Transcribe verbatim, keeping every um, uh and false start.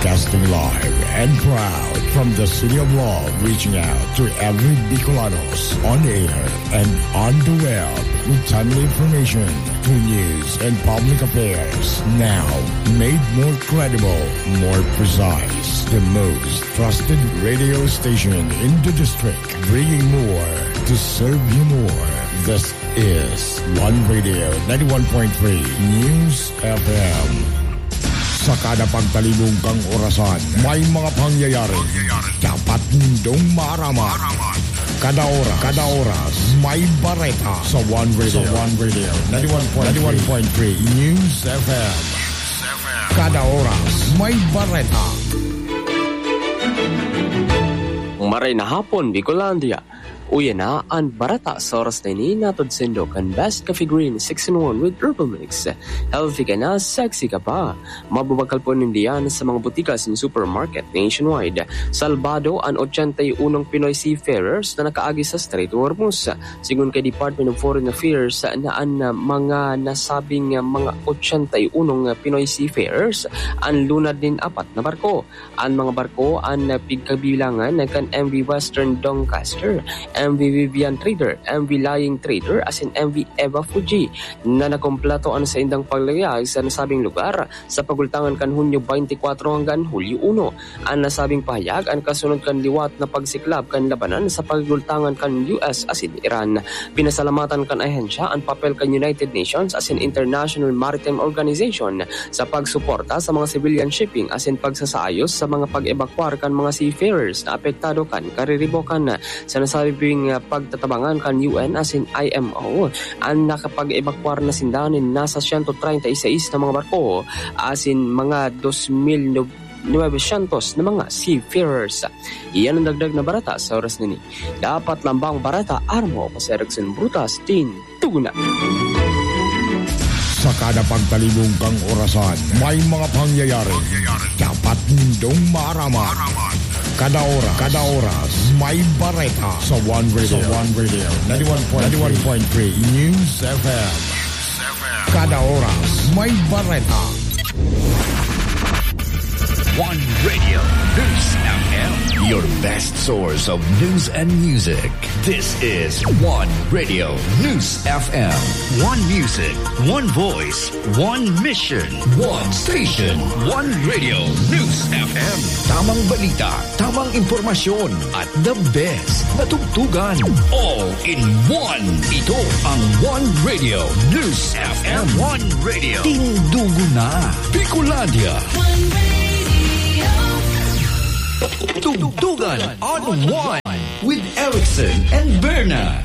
Broadcasting live and proud from the City of Love, reaching out to every Bicolanos on air and on the web with timely information, true news, and public affairs. Now, made more credible, more precise. The most trusted radio station in the district, bringing more to serve you more. This is One Radio ninety-one point three News F M. Sa kada pagtalibong kang orasan, may mga pangyayari dapat nindong maaraman. Kada oras, kada oras, may bareta sa One Radio. Sa One Radio, ninety-one point three News F M. Kada oras, may bareta. Maray na hapon, Bicolandia. Uya na an bareta sa oras na ini, hatod saindo kan Best Coffee Green six in one with Herbal Mix. Healthy ka na, sexy ka pa. Mababakal po nindiyan sa mga botika asin supermarket nationwide. Salbado an ochenta y unong Pinoy seafarers na nakaagi sa Strait of Hormuz. Sigon kay Department of Foreign Affairs na an, ah, mga nasabing, ah, mga ochenta y unong Pinoy seafarers an lunad nin apat na barko. An mga barko an pigkabilangan kan M V Western Doncaster, M V Vivian Trader, M V Lying Trader asin M V Eva Fuji na nakompleto an saindang paglayag sa nasabing lugar sa pagultangan kan Hunyo twenty-four hanggang Hulyo uno. An nasabing pahayag an kasunod kan liwat na pagsiklab kan labanan sa pagultangan kan U S asin Iran. Pinasalamatan kan ahensya an papel kan United Nations asin International Maritime Organization sa pagsuporta sa mga civilian shipping asin pagsasaayos sa mga pag-ebakwar kan mga seafarers na apektado kan kariribokan. Sa nasabing, ah, pagtatabangan kan U N asin I M O, an nakapag-ebakwar na sinda nin nasa siyento treinta y seis na mga barko asin mga dos mil novecientos na mga seafarers. Iyan an dagdag na bareta sa oras na ini. Dapat lambang bareta, armo ako si Erickson Brutas, Tin Tuguna. Sa kada pagtalibong kang orasan, may mga pangyayari dapat nindong maaraman. Kada oras, kada oras, may bareta sa One Radio. Sa One Radio, ninety-one point three News F M. Kada oras, may bareta. One Radio News F M. Your best source of news and music. This is One Radio News F M. One music, one voice, one mission. One station. One Radio News F M. Tamang balita, tamang impormasyon, at the best na tugtugan. All in one. Ito ang One Radio News F M. One Radio. Tindugo na. Bicolandia. One Radio. Tugtugan on One with Erickson and Berna.